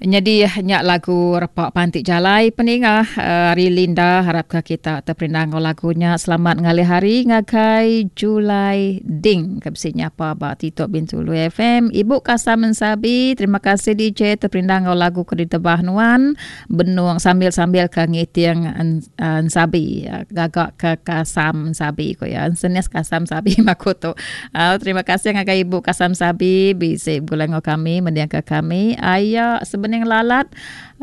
Nyadi nya lagu repa panti jalai peninga ari Linda harapka kita teperindang enggau lagu nya. Selamat ngalih hari ngagai Julai Ding ke bisi nyapa ba Titok Bintulu FM. Ibu Kasam Ensabi, terima kasih DJ teperindang enggau lagu ke ditebah nuan benung sambil-sambil ke ngiting ensabi gaga ke kasam ensabi ku iya. Ensenis kasam ensabi aku tu. Au terima kasih ngagai ibu Kasam Sabi bisi begulai enggau kami mendingka kami. Aya sebening lalat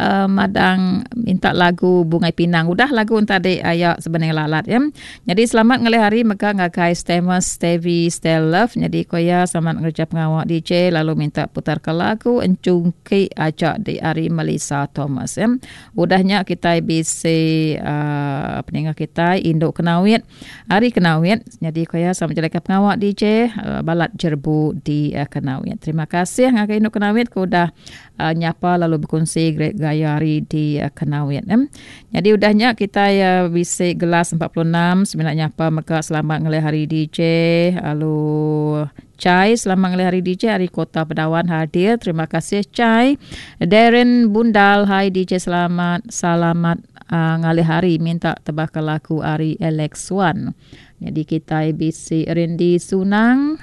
uh, madang minta lagu Bungai Pinang. Udah lagu tadi aya sebening lalat ya. Jadi selamat ngalih hari mega ngagai Stemus Stevie Stel Love. Jadi ko iya selamat ngereja pengawa DJ lalu minta putar ke lagu Encungki aja di ari Melissa Thomas ya. Udah nya kitai bisi uh, peninga kitai Indu Kenawit Ari Kenawit, nyadi ku iya sama bejalaika pengawa DJ balat jerebu di Kenawit. Terima kasih ngagai Indu Kenawit ke udah nyapa lalu bekunsi gaya hari di Kenawit. Nyadi udah nya kitai bisi gelas 46 semina nyapa mega selamat ngelih hari DJ lalu Chai selamat ngelih hari DJ ari Kota Pedawan hadir. Terima kasih Chai. Darren Bundal hai DJ selamat selamat Ngalih hari minta tebaka laku ari Alex Wan. Nyadi kitai bisi Rindi Sunang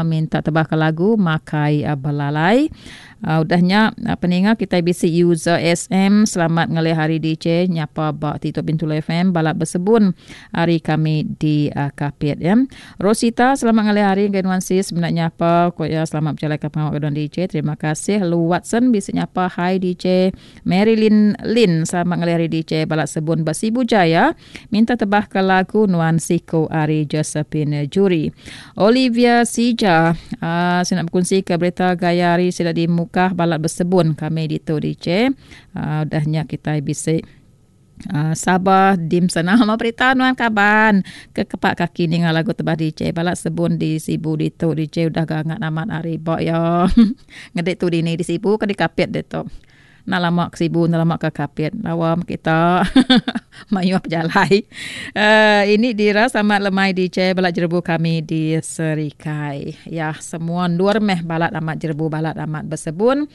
minta tebaka lagu Makai Belalai. Udah nya peninga kitai bisi user SM selamat ngalih hari DJ nyapa ba Tito Bintulu FM balat besebun ari kami di Kapit ya. Rosita selamat ngalih hari ngagai nuan sis menda nyapa ko iya selamat bejalaika pengawa ke nuan DJ. Terima kasih Lu Watson bisi nyapa hi DJ. Marilyn Lin selamat ngalih hari DJ Balat Sebun ba Sibu Jaya minta tebah ke lagu Nuan Siku ari Josephine Juri. Olivia Sija uh, saya nak berkongsi ke berita gaya hari sida di Mukah Balat Besebun kami ditu DJ. Uh, udah nya kita bisi Uh, Sabah dim sana sama berita nuan kaban ke kepak kaki ninga lagu tebah DJ balat sebun di Sibu ditu DJ udah gangat amat hari ba ya ngedik tu dini di Sibu ke di Kapit ditu. Enda lama ke Sibu, enda lama ke Kapit. Lawa meh kita. Mayuh pejalai. Uh, ini dira selamat lemai DJ balat jerebu kami di Serikai. Ya, semua endur meh balat amat jerebu, balat amat besebun.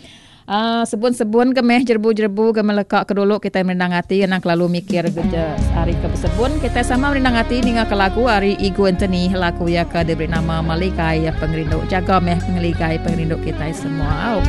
Uh, sebun-sebun ke meh jerebu-jerebu ke meleka ke dulu kita merindang ati anang kelalu mikir ke hari ke besebun kita sama merindang ati ninga ke lagu ari Igu Anthony lagu ya ke diberi nama Maligai Pengerindu jaga meh pengeligai pengerindu kita semua.